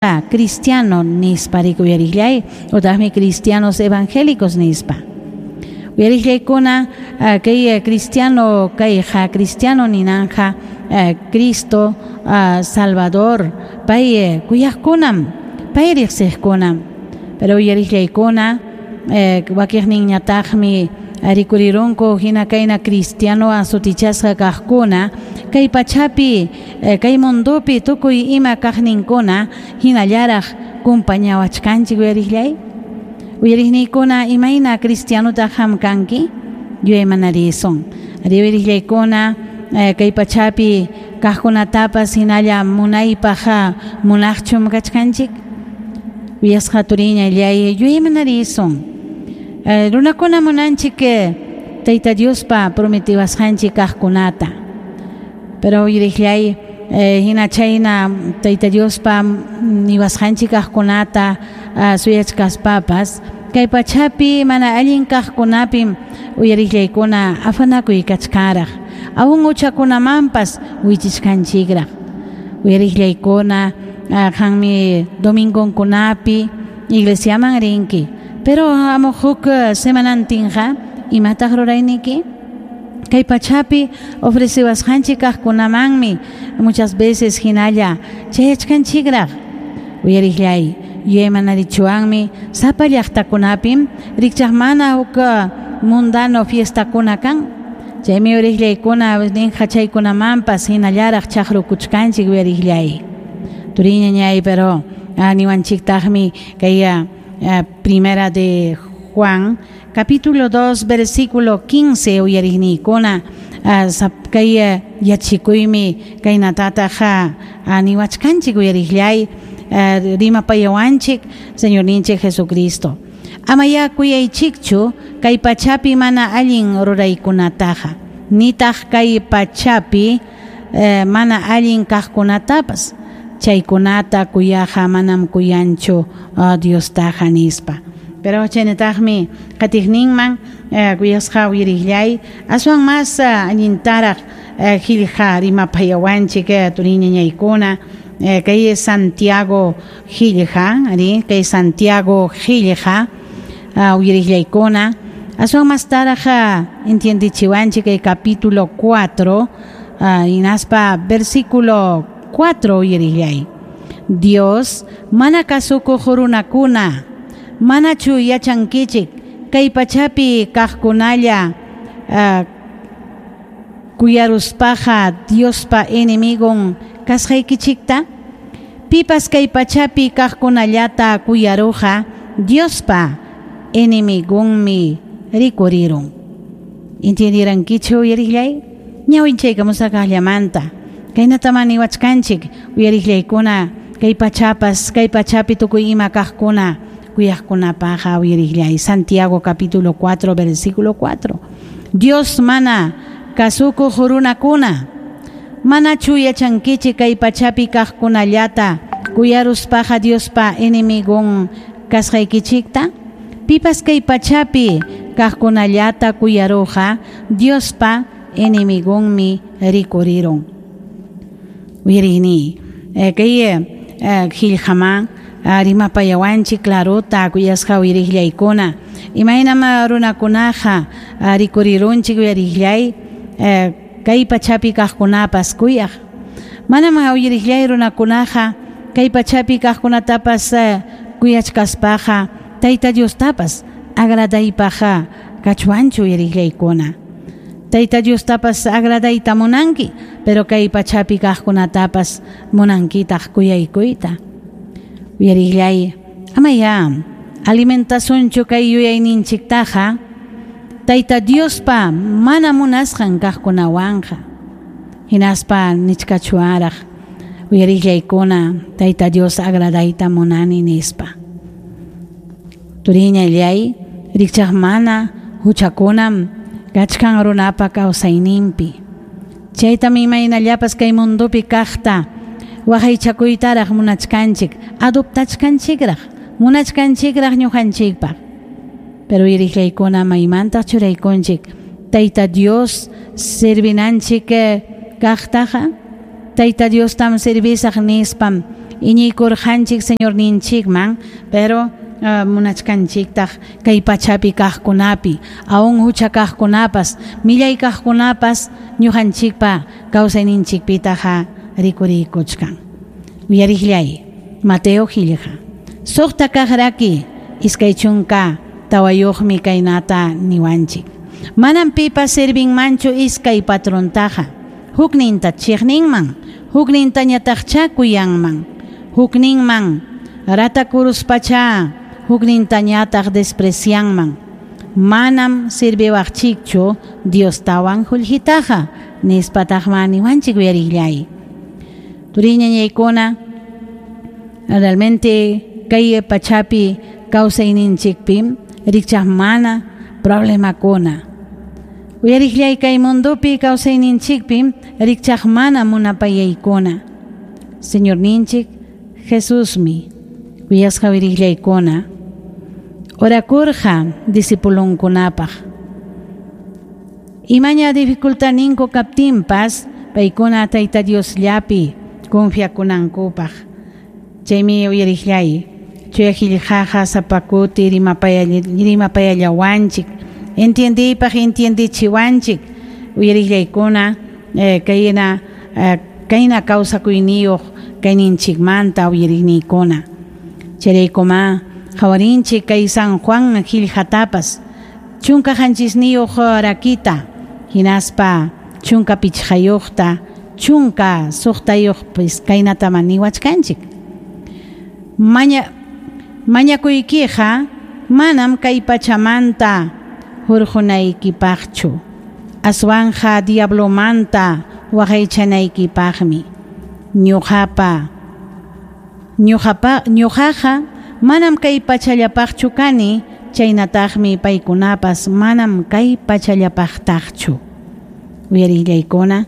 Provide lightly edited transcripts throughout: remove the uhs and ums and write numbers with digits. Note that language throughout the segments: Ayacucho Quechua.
Cristiano nispa rikuyariqllay utaqmi cristianos evangélicos nispa. Uyariqllaykuna, kay cristiano kayqa, cristiano ninanja Cristo Salvador, pay kuyaqkunam, pay riqsiqkunam. Pero uyariqllaykuna, wakiqninñataqmi rikurirunku hina kayna cristianowan sutichasqa kaqkuna, kay pachapi, kay mundopi tukuy ima kaqninkuna hinallaraq kumpañawachkanchik uyariqllay. Uyariqniykuna, imayna cristianotaq qam kanki? Yuyaymanarisun. Uyariqllaykuna, kay pachapi kaqkunatapas hinalla munaypaq munaqchum kachkanchik? Uyasqa turiñallay, yuyaymanarisun. Runakuna munanchik Tayta Diospa prometiwasqanchik kaqkunata. Pero uyariqllay, hina chayna Tayta Diospa niwasqanchik kaqkunata suyachkaspapas, kay pachapi mana allin kaqkunapim uyariqllaykuna afanakuy kachkanraq. Aún huchakunamanpas wichichkanchikraq. Uyariqllaykuna, qanmi domingonkunapi iglesiaman rinki. Pero hamuq huk semanantinqa imataq rurayniki? Kay pachapi ofreciwasqanchik kaqkunamanmi muchas veces hinalla chayachkanchikraq. Uyariqllay, yuyaymanarichuwanmi sapa llaqtakunapim rikchaq mana huk mundano fiestakuna kan. Chaymi uyariqllaykuna ninqa chaykunamanpas hinallaraq chaqrukuchkanchik uyariqllay. Turiñañay, pero niwanchiktaqmi kay Primera de Juan, capítulo 2, versículo 15, uyariqniykuna, kay yachikuymi kaynatataq niwachkanchik uyariqllay, rimapayawanchik Señorninchik Jesucristo. Amaya kuyaychikchu kay pachapi mana allin ruraykunataqa, nitaq kay pachapi mana allin kaqkunatapas. Chaykunata kuyaqa manam kuyanchu Diostaqa nispa. Pero chaynataqmi qatiqninman kuyasqa uyariqllay, aswan mas allintaraq qillqa rimapayawanchik turiñañaykuna, kay Santiago qillqa, ari, kay Santiago qillqa uyariqllaykuna, aswan mastaraq entiendichiwanchik kay capítulo 4 hinaspa versículo 4 uyariqllay. Dios mana kasukuq runakuna, manachu yachankichik kay pachapi kaqkunalla kuyaruspaqa Diospa enemigon kasqaykichikta? Pipas kay pachapi kaqkunallata kuyaruqa Diospa enemigonmi rikurirun. Entiendirankichu uyariqllay? Ñawinchaykamusaqllamanta. Kaynataman niwachkanchik uyariqllaykuna, kay pachapas, kay pachapi tukuy ima kaqkuna kuyaqkunapaqa uyariqllay. Santiago capítulo 4, versículo 4. Dios mana kasukuq runakuna, manachu yachankichik kay pachapi kaqkunallata kuyaruspaqa Diospa enemigon kasqaykichikta? Pipas kay pachapi kaqkunallata kuyaruqa Diospa enemigonmi rikurirun. Uyariqni, kay qillqaman rimapayawanchik clarota kuyasqa uyariqllaykuna. Imaynam runakunaqa rikurirunchik uyariqllay, kay pachapi kaqkunapas kuyaq. Manam uyariqllay runakunaqa kay pachapi kaqkunatapas kuyachkaspaqa Tayta Diostapas agradaypaq kachwanchu uyariqllaykuna. Tayta Diostapas agradayta munanki, pero kay pachapi kaqkunatapas munankitaq kuyaykuyta. Uyariqllay, amaya alimentasunchu kay yuyayninchiktaqa Tayta Diospa mana munasqan kaqkunawanqa. Hinaspa nichkachuaraq uyariqllaykuna Tayta Dios agradayta munani nispa. Turiñallay, rikchaq mana huchakunam kachkan runapa kawsayninpi. Chaytam imaynallapas kay mundopi kaqta waqaychakuytaraq munachkanchik, adoptachkanchikraq, munachkanchikraq ñuqanchikpaq. Pero uyariqllaykuna maymantaq churaykunchik Tayta Dios servinanchik kaqtaqa, Tayta Diostam servisaq nispam iñiykurqanchik Señorninchikman, pero munachkanchiktaq kay pachapi kaqkunapi, aún hucha kaqkunapas, millay kaqkunapas ñuqanchikpa kawsayninchikpitaqa rikuriykuchkan. Uyariqllay, Mateo qillqa. Suqta kaqraki 24 kaynata niwanchik. Manam pipas servinmanchu iskay patrontaqa, hukninta chiqninman, huknintañataqcha kuyanman, hukninman ratakuruspacha, huknintañataq desprecianman. Manam sirviwaqchikchu Diostawan qullqitaqa, nispataqma niwanchik uyariqllay. Turiñañaykuna, realmente kay pachapi kawsayninchikpi rikchaq mana problemakuna. Uyariqllay kay mundupi kawsayninchikpi rikchaq mana munapayaykuna. Señorninchik Jesusmi kuyasqa uyariqllaykuna orakurqa discipulunkunapaq. Imaña dificultaninku kaptinpas paykuna Tayta Diosllapi confiakunankupaq. Chaymi uyariqllay chuya qillqaqa sapakuti rimapayallawanchik, entiendiypaq entiendichiwanchik. Uyariqllaykuna kayna kawsakuyniyuq kayninchikmanta uyariqniykuna. Chayraykuma qhawarinchik kay San Juan qillqatapas 17 rakita hinaspa 15 16 kaynatama niwachkanchik. Mañakuykiqa manam kay pachamanta hurqunaykipaqchu, aswanja diablomanta waqaychanaykipaqmi. Ñuqaqa manam kay pachallapaqchu kani, chaynataqmi paykunapas manam kay pachallapaqtaqchu. Uyarillaykuna,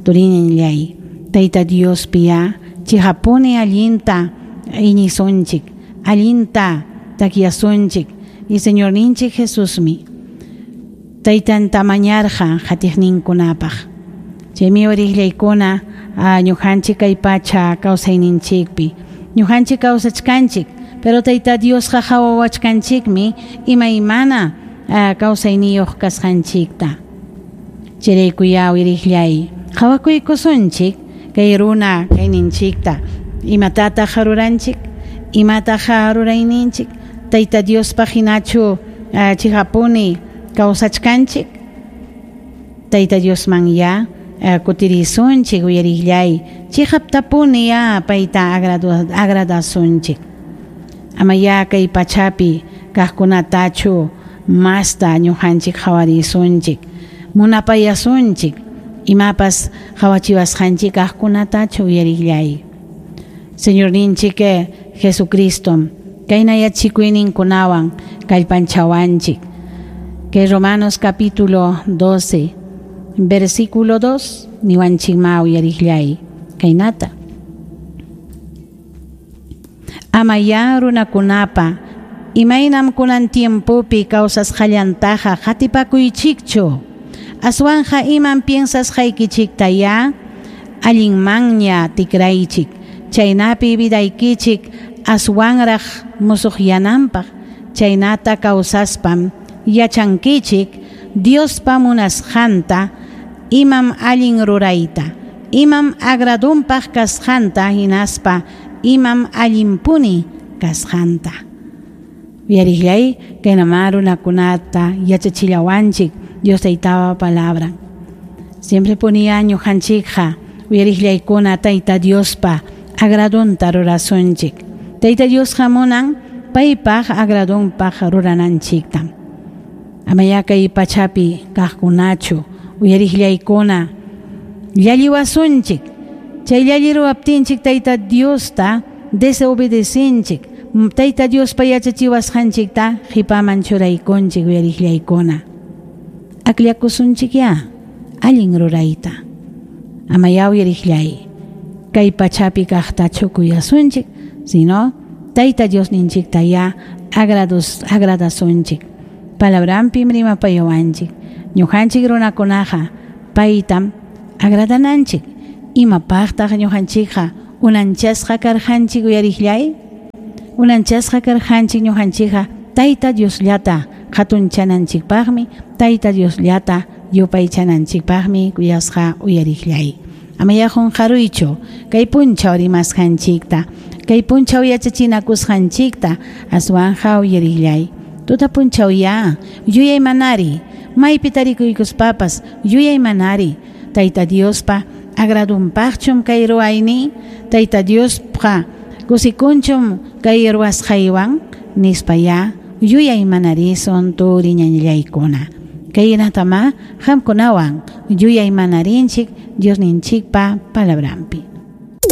turiñallay, Tayta Diospiya chihapuni allinta iñisunchik, allinta takyasunchik, y Señorninchik Jesusmi taytanta mañarqa qatiqninkunapaq. Chaymi uyarillaykuna ñuqanchik kay pacha kawsayninchikpi, ñuqanchik kawsachkanchik, pero Tayta Diosqa qhawawachkanchikmi imaymana kawsayniyuq kasqanchikta. Chayraykuya uyariqllay, qhawakuykusunchik kay runa kayninchikta, imatataq ruranchik, imataq rurayninchik, Tayta Diospaq hinachu chihapuni kawsachkanchik. Tayta Diosman ya kutirisunchik uyariqllay, chihaptapuni ya payta agradasunchik. Ama ya kay pachapi kaqkunatachu masta ñuqanchik qhawarisunchik, munapayasunchik, imapas qhawachiwasqanchik kaqkunatachu uyariqllay. Señorninchik Jesucristo kayna yachikuyninkunawan kallpanchawanchik. Que Romanos capítulo 12, versículo 2, niwanchikma uyariqllay kaynata. Ama ya runakunapa imaynam kunan tiempopi kawsasqallantaqa qatipakuychikchu, aswanja imam piensasqaykichikta ya allinmanña tikraychik, chaynapi vidaykichik aswanraq musuqyananpaq, chaynata kawsaspam yachankichik Diospa munasqanta, imam allin rurayta, imam agradunpaq kasqanta, hinaspa imam allinpuni kasqanta. Uyariqllay kaynama runakunata yachachillawanchik Dios taytapa palabra. Siempre ponía ñuqanchikqa uyariqllaykuna Tayta Diospa agradunta rurasunchik. Tayta Diosqa munan paypaq agradunpaq rurananchikta. Amaya kay pachapi kaqkunachu uyariqllaykuna llalliwasunchik. Chay llalliruwaptinchik Tayta Diosta desobedecinchik, Tayta Diospa yachachiwasqanchikta qipaman churaykunchik uyariqllaykuna. Akllakusunchik ya allin rurayta. Amaya uyariqllay kay pachapi kaqtachu kuyasunchik, sino Tayta Diosninchikta ya agradasunchik. Palabranpim rimapayawanchik. Ñuqanchik runakunaqa paytam agradananchik. Imapaqtaq ñuqanchikqa Unanchasqa karqanchik uyariqllay? Unanchasqa karqanchik ñuqanchikqa Tayta Diosllata hatunchananchikpaqmi, Tayta Diosllata yupaychananchikpaqmi kuyasqa uyariqllay. Amayá qunqaruychu kay punchaw rimasqanchikta, kay punchaw yachachinakusqanchikta, aswanqa uyariqllay. Tuta punchawyá yuyaymanari, maypi tarikuykuspapas yuyaymanari, Tayta Diospa agradunpaqchum kay ruwayniy? Tayta Diosqa kusikunchum kay ruwasqaywan? Nispayá yuyaymanarisun turiñañallaykuna. Kaynatamá qamkunawan yuyaymanarinchik Diosninchikpa palabranpi.